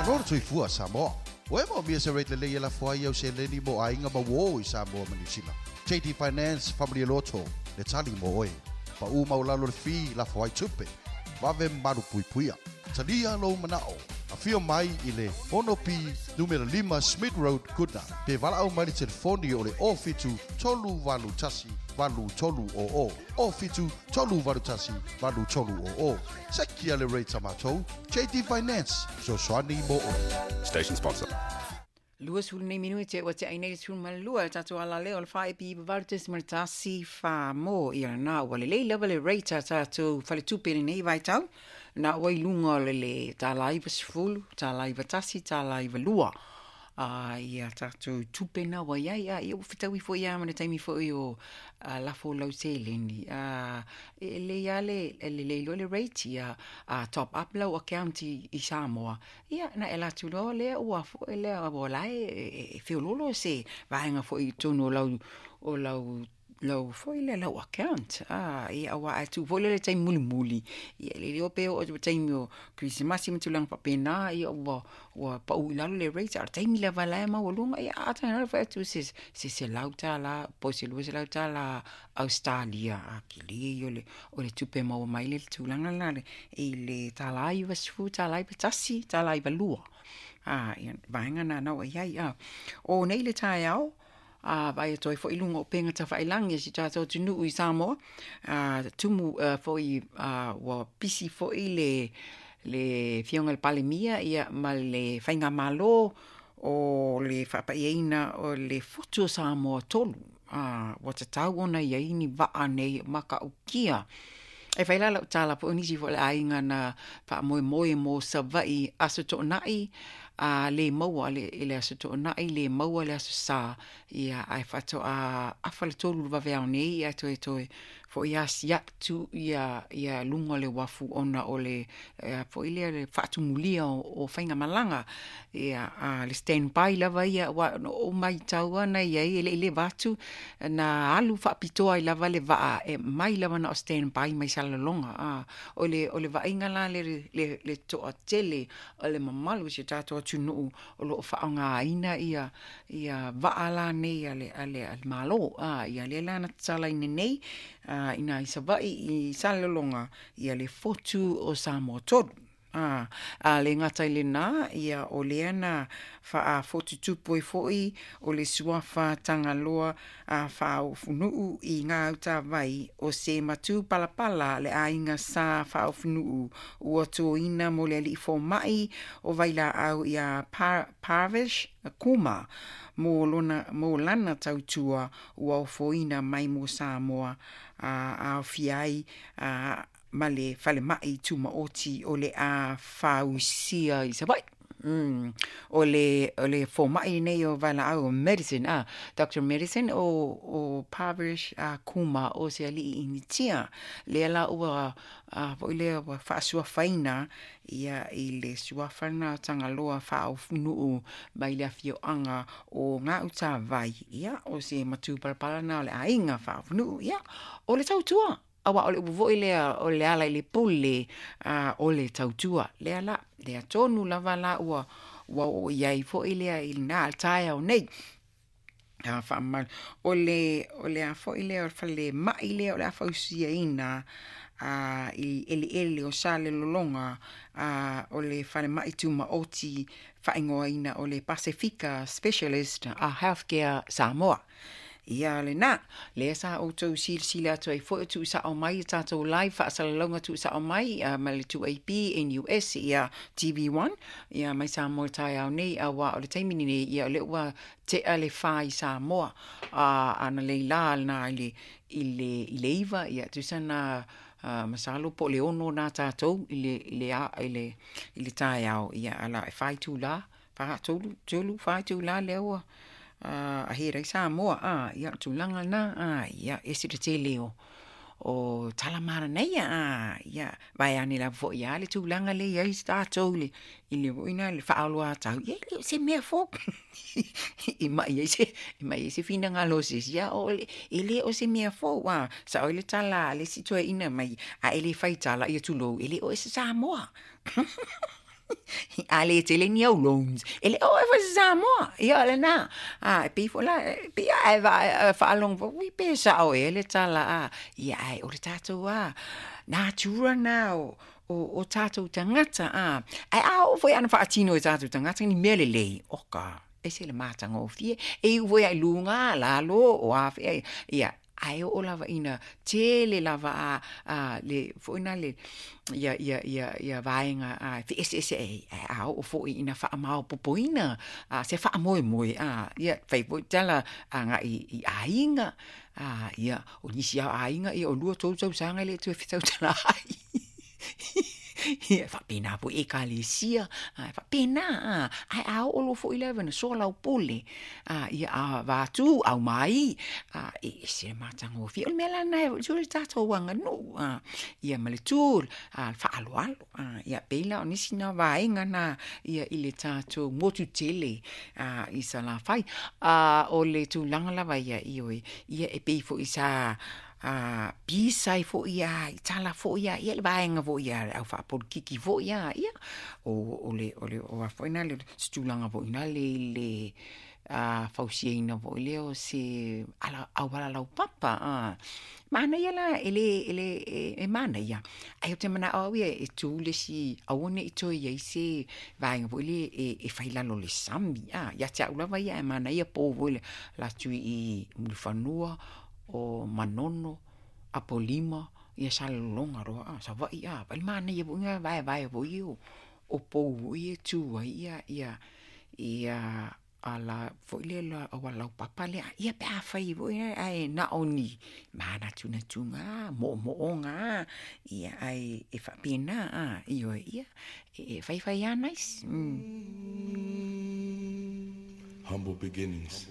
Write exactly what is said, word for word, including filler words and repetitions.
Malo le soifua Samoa. Ua e moomia se rate lelei e lafo ai au seleni mo aiga ma uō i Samoa ma Niu Sila? J D Finance Family Loto le tali mo oe. Paʻu maualalo le fee lafo ai tupe. Vave malupuipuia. Talia lou manao. Afio mai i le ono P numera lima Smith Road, Goodna. Pe valaau mai le telefoni o le o fitu tolu valu tasi valu tolu o o. O fitu tolu valu tasi valu tolu o o. Sekia le rate a matou. J D Finance. Fesoasoani mo oe. Station sponsor. Lua sulu nei minute te ua te ai nei sulu ma lua tatou ala lea o le whae pi valu tesi ma le tasi wha mo ia nā ua le lei lava le rate a tatou faletupe lenei vaitau nā ua i luga o le le tāla iwa sefulu, tāla iwa tasi, tāla iwa lua. A ia tatou tupe na ua iai a ia ua fetaui foi ia ma le taimi foi o a lafo lau seleni. A e le ia le le le le rate ia a top up lau account i, i Samoa. Ia na e latu loa lea ua foi lea ua lae e, e feololo se vaenga foi i tonu o lau o lau lau foi le lau account. Ah, ia ua atu foi le taimi mulimuli. Ia le leo pe o taimi o Krisimasi ma tulaga faapena, ia ua ua pau i lalo le rate a taimi lava lae maualuga ia a taga fai atu se se se lau tāla po se lua selau tāla Australia a kili o le o le tupe maua mai le tulaga la le i le tāla iwa sefu tāla iwa tasi tāla iwa lua. Ah, ia vaenga na nau ai ai ah. O nei le taeao a vai toi foi lunga o penga tawhailangi si tātou tunuu i Samoa. A tumu uh, foi uh, ua pisi foi le le fionga le palemia ia ma le whainga malo o le whapaiaina o le fotu o Samoa tolu. A ua tatau ona ia ini waa nei maka ukia. E whai lala o tāla po nisi fo le ainga na wha moe mo Savai aso to'onai a le maua le le aso to'onai le maua le aso sa ia ai whato a afa le tolu vaveao nei ia toe toe fo ia siatu ia ia lunga le wafu ona o le fo ile le whaatumulia o, o whainga malanga ia a le standby lava ia wa no o mai taua na ia i le le vatu na alu whaapitoa i lava le waa e mai lava na o standby mai Salelologa a o le o le vainga la le le le toa tele o le mamalu se tātou atunuu o loo whaongaina ia ia waa la nei a le a le a le malo a ia le lana tala ine nei a ina i Savai i Salelologa ia le fotu o Samoa tolu. A, a le ngata i le nā, ia o lea na whaafotutupu e foi o le suafa Tangaloa a whaofunuu i ngā utawai o se matu palapala le ainga sa whaofunuu ua tōina mo le alii fōmai o vaila au ia par, Parvish Kuma mo, lona, mo lana tautua ua ofoina mai mo Samoa a, a fiai a ma le falemai tumaoti o le a fausia i Savai. Mm. O le, o le fōmai nei o Vaila'au o Medicine, ah, Doctor Medicine o, o Parvish uh, Kuma o se alii initia. Lea la ua, uh, foi lea ua faasuafaina ia i le suafana Tangaloa whaofunuu mai le afioanga o ngā utawai. Ia, o se matu palapala na o le ainga whaofunuu. Ia, o le tautua. Awa o le upo lea o le ala i le pule uh, o le tautua. Lea la, lea tonu lava la ua, ua o iai foi lea i nā al taea o nei. A whaamalu. O le, o le a foi lea o le whale mai lea o le a whausia ina a i ele ele o Salelologa a o le whale mai tumaoti whaingoa ina o le Pasifika Specialist a Healthcare Samoa. Ia le nā, lea sa outou silasila atu ai foi o tuusa'o mai i tatou live faasalalauga tuusa'o mai uh, ma le two A P N U S ia T V one ia mai Samoa taeao nei auā o le taimi lenei ia o le ua tea le fā i Samoa uh, ana leilā lena i le, i le, i le iva ia tusa na uh, masalo po le ono nā tatou i le, i le, i le, i le taeao ia ala e whai tūlā, wha tolu, tolu, whai tūlā lea ua Uh, a he rei Samoa, ah, ia tūlanga nā, ah, ia ese te tele o, o talamara nei, ah, ia vai ane la fo ia le tūlanga le ia i tātou le, i le woina le whaaloa tau, ia le se mea fo, i mai ai se, i mai ai se whina ngā loses, ia o le, e le o se mea fo, ah, sa o le tala, le situa ina mai, a ele whai tala, ia tūlou, e le o e se Samoa. A le tele ni au loans. E le o e fa Samoa. Ia le na. A e pei fo la pe a e va faalogo fo ui pe sa'o ea le tala a. Ia ae o le tatou a natura na o o, o tatou tagata a. Ae a oo foi ana faatino e tatou tagata ni mea lelei oka ese le matagofie e iu foi ai luga lalo o afea ia ae oo lava ina tele lava a, a le foina le ia ia ia ia vaega a feeseese ai a oo foi ina faamaopopoina a se faamoemoe a ia fai foi tala agai i aiga a ia o nisi a aiga ia o lua tou tausaga e le toe fetautala ai ia faapena foi ekalesia a faapena a ae a oo loa foi lava na soalaupule a ia avatu aumai a e ese le matagofie. O le mea la lena e le tatou aganuu a ia ma le tu a le faaaloalo a ia pei la o nisi na vaega na ia i le tatou motu tele a i Salafai. A o le tulaga lava ia ioe ia e pei foi sa a pisa ai foi a i tala foi a ia le vaega foi a le au faapolokiki foi a ia o o le o le o a foi na le se tulaga foi na le le a fausiaina foi lea o se ala auala laupapa a manaia la e le e le e manaia ae ou te manao au ia e tu le isi aua nei toe iai se vaega foi le e, e fai lalo le sami a ia te au lava ia e manaia pou foi le la tui i Mulifanua o Manono Apolima ia Salelologa loa a Savaii a vaai le manaia foi na vaevae foi o o pou foi e tu ai ia ia ia ala foi le la auala laupapa lea ia pe afai foi ae na o ni manatunatuga moomooga ia ae e faapena a ioe ia e faifai a nice mm. Humble beginnings.